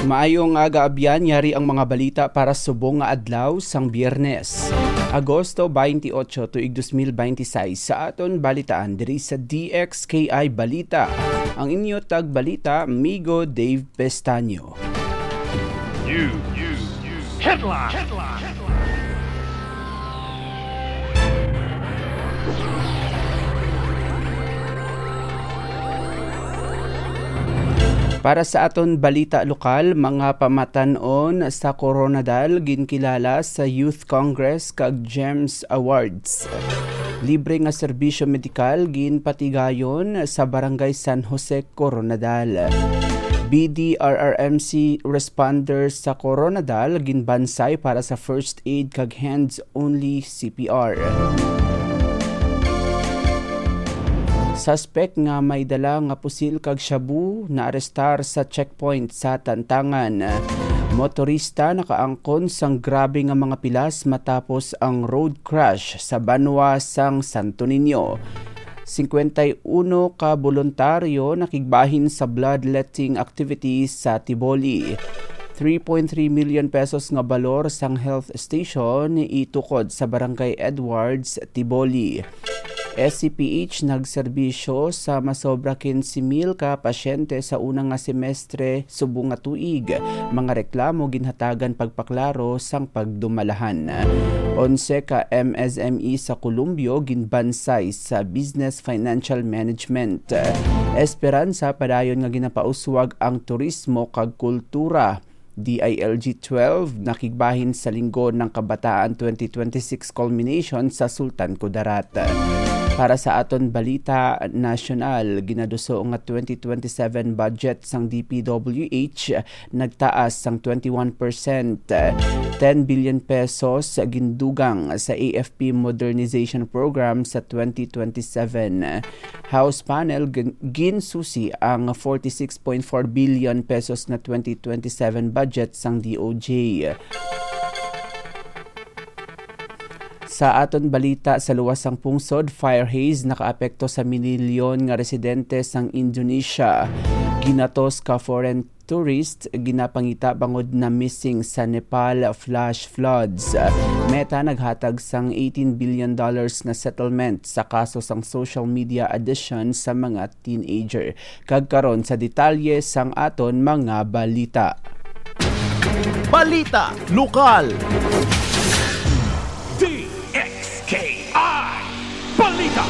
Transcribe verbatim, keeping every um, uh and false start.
Maayong aga, abyan. Yari ang mga balita para subong nga adlaw sang Biyernes, Agosto twenty-eight, tuig dos mil binte seis, sa aton balitaan diri sa D X K I Balita. Ang inyo tagbalita, Migo Dave Pestaño. You, you, you. Headline. Para sa aton balita lokal, mga pamatan-on sa Koronadal ginkilala sa Youth Congress kag GEMS Awards. Libre nga serbisyo medikal ginpatigayon sa Barangay San Jose, Koronadal. B D R R M C responders sa Koronadal ginbansay para sa first aid kag hands-only C P R. Suspek nga may dala nga pusil kag shabu naarestar sa checkpoint sa Tantangan. Motorista nakaangkon sang grabe nga mga pilas matapos ang road crash sa banwa sang Santo Niño. Singkwenta y uno ka boluntaryo nakigbahin sa bloodletting activities sa Tiboli. Three point three million pesos nga balor sang health station itukod sa Barangay Edwards, Tiboli. S C P H nagserbisyo sa masobra quince mil ka pasyente sa una nga semestre subong nga tuig. Mga reklamo ginhatagan pagpaklaro sang pagdumalahan. Onse ka M S M E sa Colombia ginbansay sa Business Financial Management. Esperanza padayon nga ginapauswag ang turismo kag kultura. D I L G twelve nakigbahin sa Linggo ng Kabataan twenty twenty-six culmination sa Sultan Kudarat. Para sa aton balita nasyonal, ginaduso nga twenty twenty-seven budget sang D P W H nagtaas sang twenty-one percent, ten billion pesos gindugang sa A F P Modernization Program sa twenty twenty-seven. House panel gin-, ginsusi ang forty-six point four billion pesos nga twenty twenty-seven budget sang D O J. Sa aton balita, sa luwas sang pungsod, fire haze nakaapekto sa minilyon nga residente sang Indonesia. Ginatos ka foreign tourist, ginapangita bangod na missing sa Nepal flash floods. Meta naghatag sang eighteen billion dollars nga settlement sa kaso sang social media addiction sa mga teenager. Kag karon sa detalye sang aton mga balita. Balita lokal. D X K I Balita.